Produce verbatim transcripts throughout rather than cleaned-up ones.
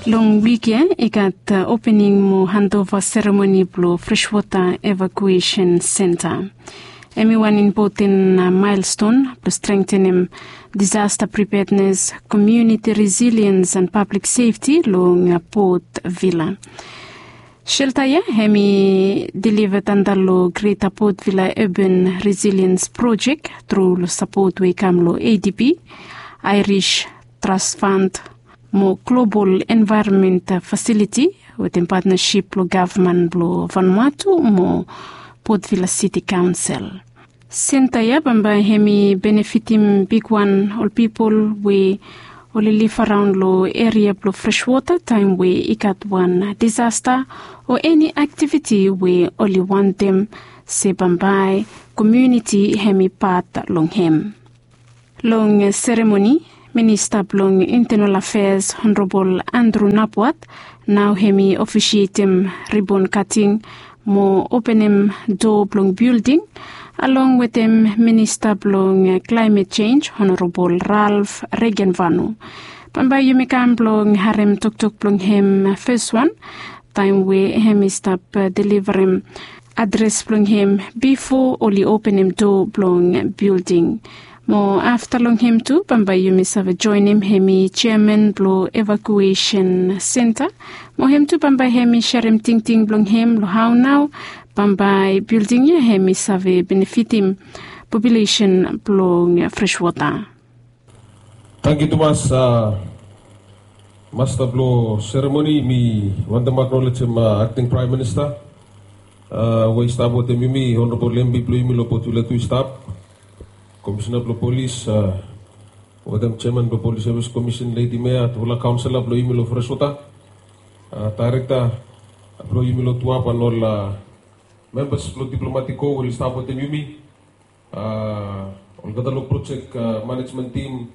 Long wik ya i gat opening mo handova seremoni blong Freshwater Evacuation Center. Em i wan impoten milestone blong strengtenem disaster preparedness, community resilience and public safety long Port Vila. Shelta ya em i deliva antap long Greater Port Vila Urban Resilience Project tru long sapot we i kam long A D B, Irish Trust Fund mo Global Environment Facility wetem patnasip blong gavman blong Vanuatu mo Port Vila City Council. Senta ya bambae em i benefitim bigwan ol pipol we oli liv araon long eria blong Freshwater taem we i gat wan disasta o eni aktiviti we oli wantem se bambae komuniti em i pat long em. Long seremoni, Minista blong Internal Affairs Honorable Andrew Napwat nao em i ofisietem ribon kating mo openem doa blong bilding, along wetem Minista blong Climate Change Honorable Ralph Regenvanu. Bambae yumi kam blong harem toktok blong em feswan taem we em i stap delivarem adres blong em bifo oli openem doa blong bilding. Mo afta long em tu bambae yumi save joenem em i jeaman blong evakuesen senta. Mo em tu bambae em i serem tingting blong em long hao nao bambae bilding ya em i save benefitim populesen blong Freshwater. Tangkiu tumas, masta blong seremoni. Mi wantem aknolejem akting praem minista we i stap wetem yumi, honorabol empi blong yumi long Port Vila tu i stap, komisina blong polis wetem jeaman blong Polis Sevis Komisen, ledi mea, tufala kaonsela blong yumi long Freshwater, daerekta blong yumi long Tuap, an ol membas blong diplomatik kor we oli stap wetem yumi, olgeta long projek manejmen tim,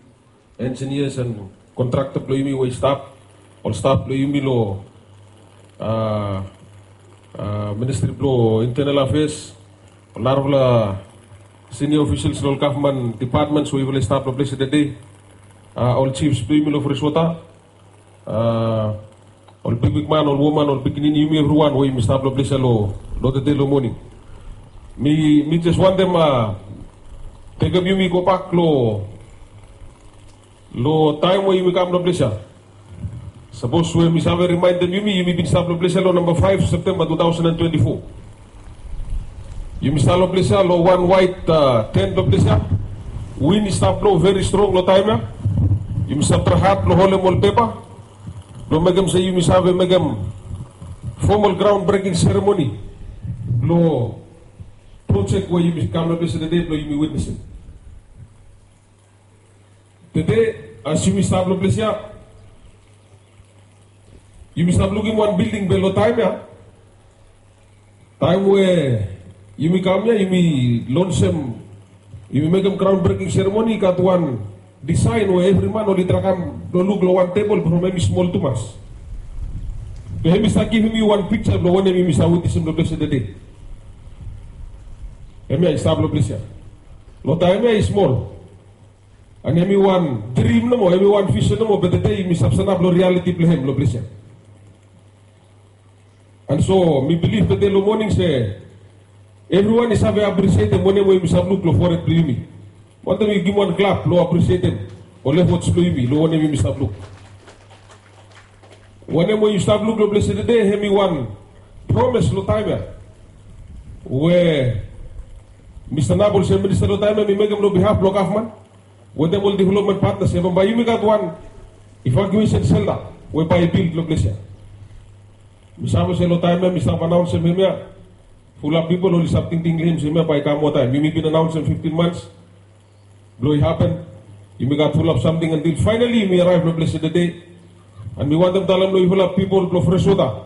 enjinias an kontrakta blong yumi we i stap, ol staf blong yumi long ministri blong Internal Affairs, ol narafala sinia ofisels long ol gavman dipatmens we yufala i stap long ples ya tede, ol jifs blong yumi long Freshwater, ol bigbigman, ol woman, ol pikinini, yumi evriwan we yumi stap long ples ya long tede long moning. Mi jes wantem tekem yumi gobak long taem we yumi kam long ples ya. Sapos we mi save rimaendem yumi, yumi bin stap long ples ya long namba faef Septemba tu taosen an twenti fo. Yumi stap long ples ya long wan waet tent long ples ya. Win i stap blo veri strong long taem ya. Yumi stap trae had blong holem ol pepa blong mekem se yumi save mekem fomal graon breking seremoni blong projek we yumi kam long ples ya tede blong yumi witnesem. Tede as yumi stap long ples ya, yumi stap lukim wan bilding be long taem ya, taem we yumi kam ya, yumi lonsem, yumi mekem graon breking seremoni, i gat wan disaen we evri man oli trae kam blong luk long wan tebol from em i smol tumas. Be em i stap givim yu wan piksa blong wanem yumi stap witnesem long ples ya tede. Hemia i stap long ples ya. Long taem ya i smol. An hemi wan drim nomo, hemi wan visen nomo, be tede yumi stap sanap long rialiti blong hem long ples ya. An so mi bilif tede long moning se evriwan i save apresietem wanem we yumi stap luk long fored blong yumi. Wantem yu givim wan klap long apresietem ol efots blong yumi long wanem yumi stap luk. Wanem we yu stap luk long ples ya tede, hemi wan promes long taem ya we mi sanap olsem minista long taem ya mi mekem long bihaf blong gavman wetem ol developmen patnas ya, bambae yumi gat wan evakuesen selta we bae i bil long ples ya. Mi save se long taem ya mi stap anaonsem hemia, fulap pipol oli stap tingting long hem se hemia bae i kam moa taem. Yumi bin anaonsem fiftin mans blong i hapen. Yumi gat fulap samting antil faenali yumi araev long ples ya tede. An mi wantem talem long yufala pipol blong Freshwater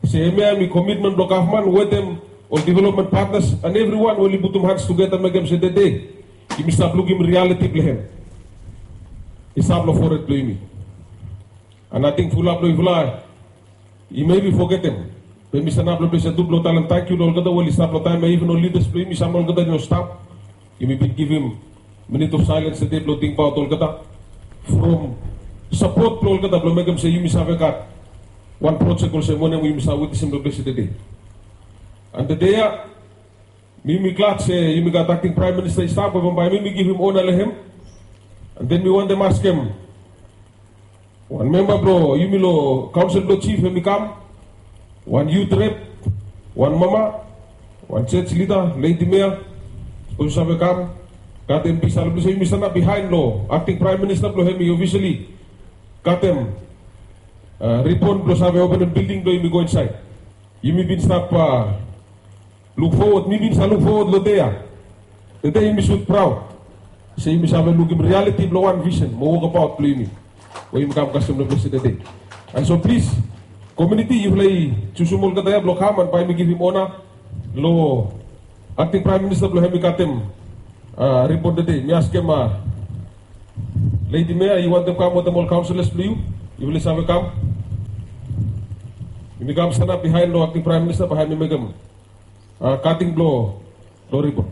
se hemia hemi komitmen blong gavman wetem ol developmen patnas an evriwan we oli putum hans tugeta mekem se tede yumi stap lukim rialiti blong hem i stap long fored blong yumi. An ating fulap long yufala i mebi fogetem, be mi sanap long ples ya tu blong talem tangkiu long olgeta we oli stap long taem ya, iven ol lidas blong yumi, sam olgeta i no stap. Yumi bin givim minit of saelens tede blong tingbaot olgeta from sapot blong olgeta blong mekem se yumi save gat wan projek olsem wanem we yumi save witnesem long ples tede. An tede ya, mi yumi glad se yumi gat akting praem minista i stap we bambae mi mi givim ona long hem. An den mi wantem askem wan memba blong yumi long kaonsel blong jif, hemi kam, wan yut rep, wan mama, wan jej lida, ledi mea, sapos yu save kam. Gatem pisa long ples we yumi sanap bihaen long akting praem minista blong hemi ofisali gatem ribon blong save openem bilding blong yumi go insaed. Yumi bin stap luk fowod, mi bin save luk fowod long dei ya. Tede yumi sud praod se yumi save lukim rialiti blong wan visen mo wokabaot blong yumi we yumi kam kasem long ples tede. An so plis, komuniti, yufala i jusum olgeta ya blong kam an bae mi givim ona long akting praem minista blong hem i gatem ribon tede. Mi askem ledi mea, i wantem kam wetem ol kaonselas blong yu? Yufala i save kam. Yumi kam sanap bihaen long akting praem minista bae hem i mekem kating blong ribon.